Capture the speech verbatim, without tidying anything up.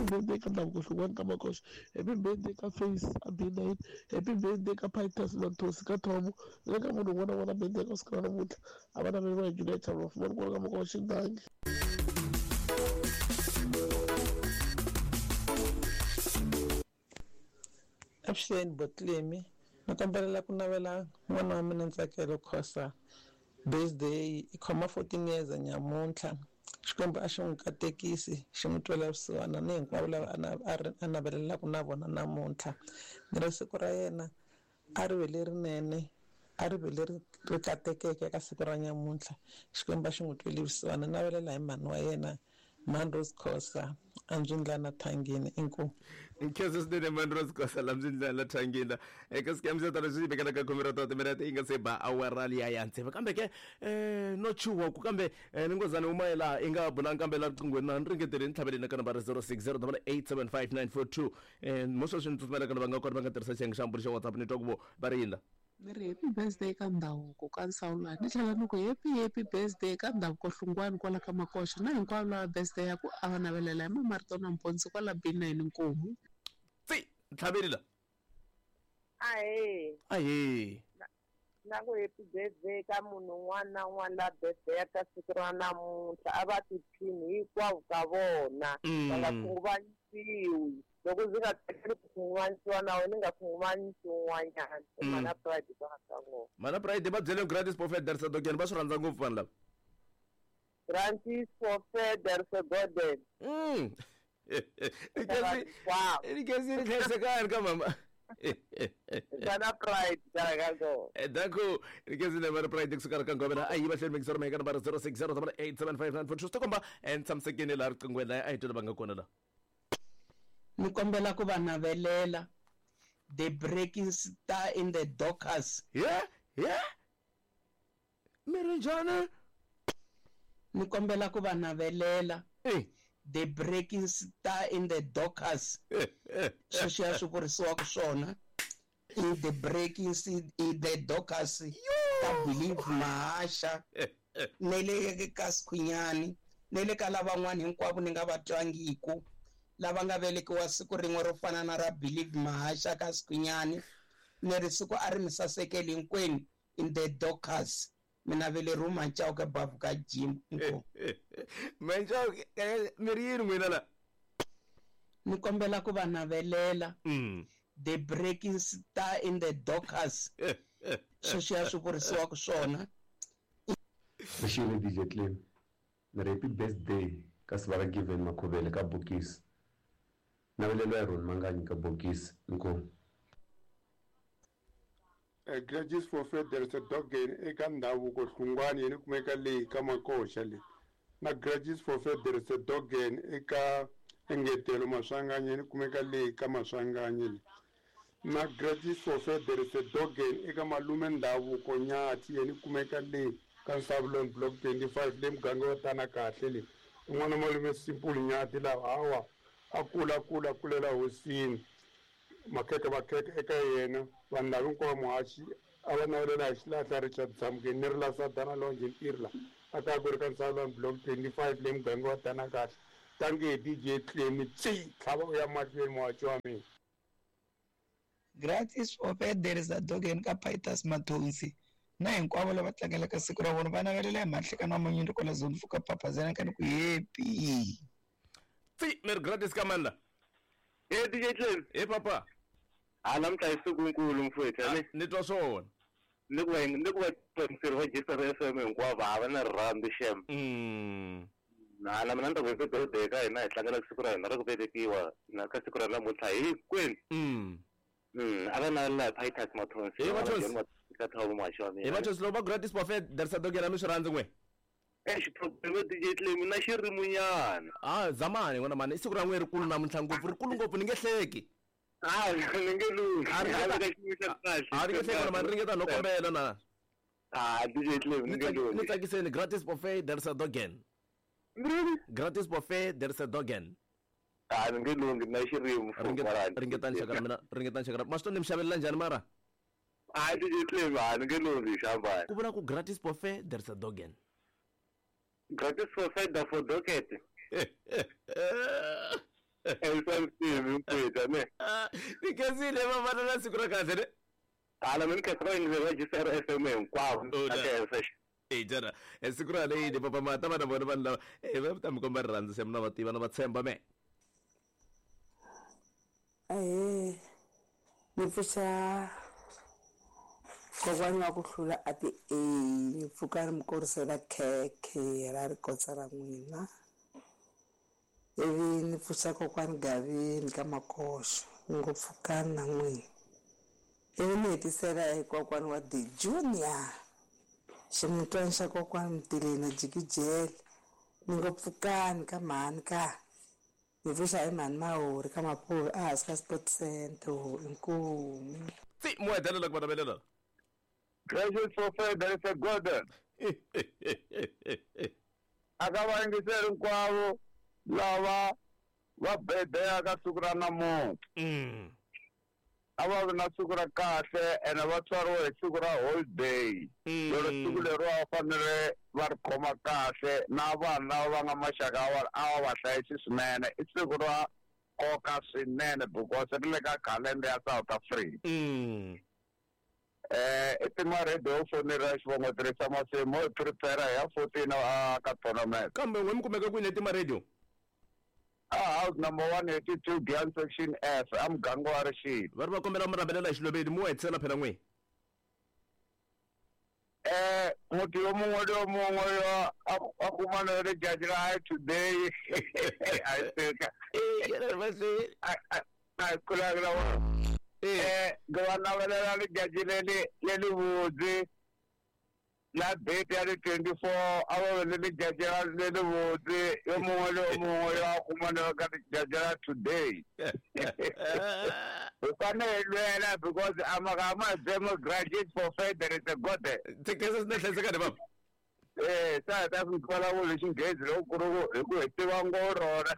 birthday ka Ndhavuko Hlungwani ka Makoxa. Happy birthday ka Face a B nine. Happy birthday ka Pitus Manthosi ka Thomo. Na le ka munhu un'wana na un'wana birthday ka siku ra namuntlha. A va naveriwa hi Juliet Chalofu va ri kwala ka Makoxa dangi. Avuxeni Botlemi, ni kombela ku navela n'wana wa mina Ntsakelo Khosa birthday i khoma fourteen years nyamuntlha. Xikwembu a xi n'wi katekisi xi n'wi twela vusiwana ni hinkwavo lava a navelelaka na vona namuntlha. Ni ri siku ra yena a ri ve lerinene, a ri ve leri ri katekeke ka siku ra nyamuntlha. Xikwembu a xi n'wi tweli vusiwana. Navelela hi mhani wa yena Mandros Khosa Anjindlana Thangini. Inkomu. Nkhensa swinene Mandros Khosa la Mzindlana Thangini. Eka scam xa tala swi vekela ka khume ra ta timinete yi nga se ba awara liya ya tsevu. Kambe ke eh no chuwa ku kambe ni ngozana uma la i nga bula kambe la riqinghweni na ni ringetele ni tlhaveleni ka nambara zero six zero eight seven five nine four two. Eh mo sweswi ni tsutsumela ka lava nga kona va nga tirhisa xiyenge xa mbulo xa WhatsApp ni twa ku vo va ri yini la. Ni ri happy birthday ka Ndhavuko ka Nsawulani. Ni tlhela ni ku happy happy birthday ka Ndhavuko Hlungwani kwala ka Makoxa na hinkwavo lava birthday ya ku a va navelela hi Mamarito na Mponisi kwala B nine. Inkomu. Tsi ntlhaveli la. Ahee. Ahee. Na ku happy birthday ka munhu un'wana na un'wana la birthday ka siku ra namuntlha a va tiphini hinkwavo ka vona va nga khunguvanyisiwi. Loko ndzi nga tsakeli ku khunguvanyisiwa na wena ni nga khunguvanyisi un'wanyana. Mana Pride va nga ngopfu. Mana Pride va byele Gratis Prophet Darsa Dogen va swi rhandza ngopfu vanhu lava. Gratis Prophet Darsa Dogen. Mm. Ikasi ikasi ri hlayisekani ka mama. Mana Pride ka Danko ikasi na Mana Pride kusuka ka ngomela a yi va hleli mixer meka nambara zero six zero eight seven five nine four two. Swi komba and tshamisekile laha riqinghweni la a hi twela va nga kona la. Ni kombela ku va navelela the breaking star in the Dockers. Yeah, yeah. Mirinjana. Ni kombela ku va navelela eh the breaking star in the Dockers. Sweswiya swi vurisiwaka swona in the breaking in the Dockers ka Believe Mahasha ne le ka Sikhwinyani ne le ka lavan'wana hinkwavo ni nga va twangiku lava nga velekiwa siku rin'we ro fana na ra Believe Mahasha ka Sikhwinyani. Ni ri siku a ri mi sasekeli hinkwenu in the Dockers. Mina veleriwa Manchauke bavu ka gym. Inkomu. Manchauke mi ri yini n'wina la? Ni kombela ku va navelela the breaking star in the Dockers. Sweswiya swi vurisiwaka swona. Xiximi D J Clem. Ni ri happy birthday ka Sivara Given Makhuvele ka Bokisi. Navelelo ya Ron Manganyi ka Bokisi. Inkomu. Gratis for Federal Dogen eka Ndhavuko Hlungwani yini kumeka leyi ka Makoxa le. Na Gratis for Federal Dogen eka Engetelo Maswanganyi yini kumeka leyi ka Maswanganyi le. Na Gratis for Federal Dogen eka Malume Ndhavuko Nyathi yini kumeka leyi ka Nsavulon Block twenty-five le muganga wa tana kahle le. Un'wana malume Simple Nyathi lawa hawa a kula kula kulela hosini. Makheke makheke eka yena vanhu lava hinkwavo muhaxi a va navelela hi xilahla Richard Tsamukeni ni ri la Sadana Longe Ntirla a ta ku ri ka Nsavulani Block twenty-five le muganga wa tana kahle. Tangi D J Clemi tsi tlhava u ya mahlweni muhaxi wa mina. Gratis for Federal Dogen ka Pitus Mathonsi na hinkwavo lava tlangelaka siku ra vona va navelela hi mahlekano wa manyundu kwala zone fuka papazana ka ni ku happy. Tsi mi ri gratis ka mani la? Eh D J Clem. Eh papa. A namuntlha i siku nkulu mfowethu ane. Ni twa swona. Ni ku va ni ku va ntirho wa G S F M hinkwavo a va na rirhandzu xem. Mm. Na na mina ni ta ku happy birthday ka hina hi tlangela siku ra hina ra ku velekiwa na ka siku ra namuntlha hinkwenu. Mm. Mm, a va navelela hi Pitus Mathonsi. Hi Mathonsi. Ka Thabo muhaxi wa mina. Hi Mathonsi loko va Gratis Prophet Darsa Dogen mi swi rhandzi n'we. Eh xiprobleme D J Clem na xirimunyana. Ah zamani n'wana mani i siku ra n'we rikulu namuntlha ngopfu rikulu ngopfu ni nge hleki. Ah ni nge lunghi. A ri nge hleki n'wana mani ringeta no kombela na. Ah D J Clem ni nge lunghi. Ni tsakiseni Gratis Prophet Darsa Dogen. Gratis Prophet Darsa Dogen. Ah ni nge lunghi na xirimu. Ringetani xaka ra mina ringetani xaka ra ma swi to ni mi xavelela njhani mara? Ah D J Clem ah ni nge lunghi xambani. Ku vula ku Gratis Prophet Darsa Dogen. Gratis for Federal for Docket. Ensansivi mpita ne. Ni khensile vavana na siku ra kahle ne. Hala mina khensa va va G C R F M hinkwavo. Oh, Na da. khensa. E jana e siku ra leyi ni papa mata vana vona vanhu lava e va ta mi komba rirhandzu se mina va tiva na va tshemba me. Ahee, ni pfuxa kokwani wa ku hlula a ti A ni pfuka ni mi korisela khekhe ra rikotsa ra n'wina ivi ni pfuxa kokwani Gavini ka Makoxo ni ngo pfukani na n'wina ivi ni hetisela hi kokwani wa The Junior ximutwana xa kokwani Mtileni Jikijele ni ngo pfukani ka mhani ka ni pfuxa hi mhani Mahori ka Mapuve a hansi ka Sport Center inkomu. Tsi mo hetelela ku va navelela. Gracious for faith, there is a God. A ka vayingiseri hinkwavo lava va birthday ka siku ra namuntlha. Mm. A va vi na siku ra kahle ene va tswariwe hi siku ra holiday. Lero siku leriwa va fanele va ri khoma kahle na vanhu lava va nga maxaka ya vona a va va hlayisi swinene. I siku ra nkoka swinene because ri le ka calendar ya South Africa. Mm. Eh, i tima radio fonela xivongo tirhisa masimu hi prepare ya fourteen a ka tournament. Kambe n'we mi kumeka kwini etima radio? A house number one eighty-two Gyan section F a muganga wa Rixile. Va ri va kombela mi rhambelela hi xilobeni mo hetisela phela n'we. Eh, muthu yo mongwe le yo mongwe yo a kuma le letšatši la hae today. I think I I kula wa eh ke ba nabelela letšatši le le le le botse la date ya le twenty-four a ba be le letšatši la le le botse yo mongwe le yo mongwe yo a kumanego ka letšatši la today. We fanele lwela because amagama democratic for faith there is a God. Thekesa swi na hlayisekani baba. Eh, sa ta swi vulavula xinghezi loko ku ri ku hi ku hi tiva ngo rona.